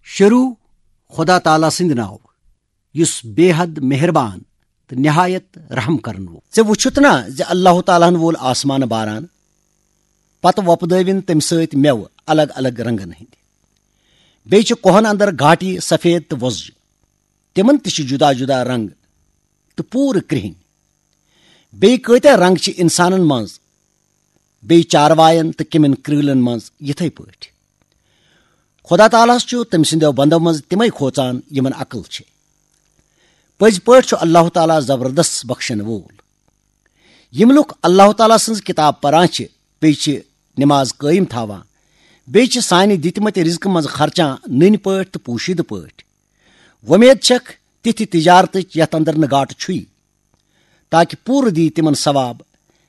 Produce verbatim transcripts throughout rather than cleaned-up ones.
شروع خدا تعالیٰ سٕنٛدِ ناوٕ، یُس بے حد مہربان تہٕ نہایت رحم کرن وول۔ ژےٚ وُچھُتھ نا زِ اللہ تعالیٰ ہن وول آسمان باران، پتہٕ وۄپدٲوِن تمہِ سۭتۍ مٮ۪وٕ الگ الگ رنگن ہٕنٛدۍ۔ بیٚیہِ چھِ کوہن اندر گاٹی سفید تہٕ وۄزجہِ، تِمن تہِ چھِ جدا جدا رنگ تہٕ پوٗرٕ کرٛہِنۍ۔ بیٚیہِ کۭتیاہ رنگ چھِ انسانن منٛز، بیٚیہِ چاروایَن تہٕ کیٚمٮ۪ن کرۭلن منٛز یِتھے پٲٹھۍ۔ خدا تعالیٰ ہس چھُ تٔمۍ سٕنٛدیو بندو منٛز تِمے کھوژان یِمن عقل چھِ۔ پٔزۍ پٲٹھۍ چھُ اللہ تعالیٰ زبردست بخشن وول۔ یِم لُکھ اللہ تعالیٰ سٕنٛز کِتاب پران چھِ، بیٚیہِ چھِ نماز قٲیِم تھاوان، بیٚیہِ چھِ سانہِ دِتمٕتۍ رزقہٕ منٛز خرچان نٔنۍ پٲٹھۍ تہٕ پوشیدٕ پٲٹھۍ۔ وۄمید چھکھ تِتھِ تجارتٕچ یتھ اندر نہٕ گاٹہٕ چھُے، تاکہ پوٗرٕ دی تِمن ثواب،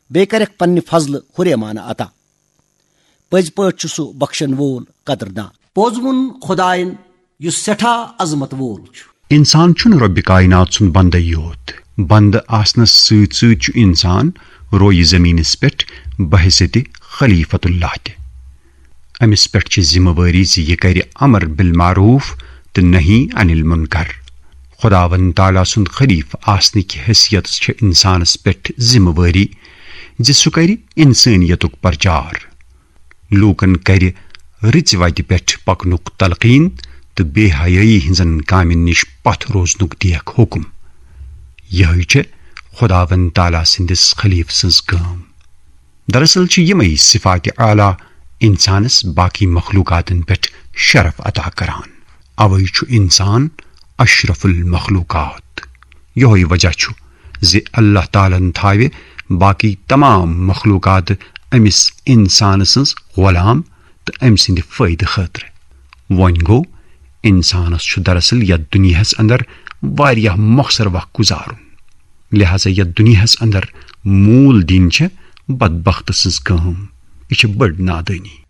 بیٚیہِ کرکھ پننہِ فضلہٕ ہُریمانہٕ عطا۔ پٔزۍ پٲٹھۍ چھُ سُہ بخشن وول قدردان۔ پوٚز ووٚن خدایَن، یُس سٮ۪ٹھاہ عظمت وول چھُ۔ انسان چھُنہٕ رۄبِ کائنات سُنٛد بندے یوت۔ بندٕ آسنس سۭتۍ سۭتۍ چھُ انسان رویہِ زمینس پٮ۪ٹھ بحیثیت خلیفۃ اللہ تہِ۔ أمِس پٮ۪ٹھ چھِ ذمہٕ وٲری زِ یہِ کرِ امر بالمعروف تہٕ نہی عن المنکر۔ خداوند تعالیٰ سُنٛد خلیفہٕ آسنہٕ کہِ حیثیتس چھِ انسانس پٮ۪ٹھ ذمہٕ وٲری زِ سُہ کرِ انسٲنیتُک پرچار، لوٗکن کرِ رٕژِ وتہِ پٮ۪ٹھ پکنُک تلقین تہٕ بے حیٲیی ہٕنٛزن کامٮ۪ن نِش پتھ روزنُک دیکھ حکم۔ یِہے چھِ خداوند تعالیٰ سٕنٛدِس خلیفہٕ سٕنٛز کٲم۔ دراصل چھِ یِمے صفات اعلیٰ انسانس باقی مخلوقاتن پٮ۪ٹھ شرف عطا کران۔ اوے چھُ انسان اشرف المخلوقات۔ یِہوے وجہ چھُ زِ اللہ تعالیٰ ہن تھاوِ باقی تمام مخلوقات أمِس انسان سٕنٛز غلام تہٕ أمۍ سٕنٛدِ فٲیدٕ خٲطرٕ۔ وۄنۍ گوٚو، انسانس چھُ دراصل یتھ دُنیاہس اندر واریاہ مۄخصر وق گُزارُن۔ لہذا یتھ دُنیاہس اندر موٗل دِنۍ چھِ بدبخت سٕنٛز کٲم۔ یہِ چھِ بٔڑ نادٲنی۔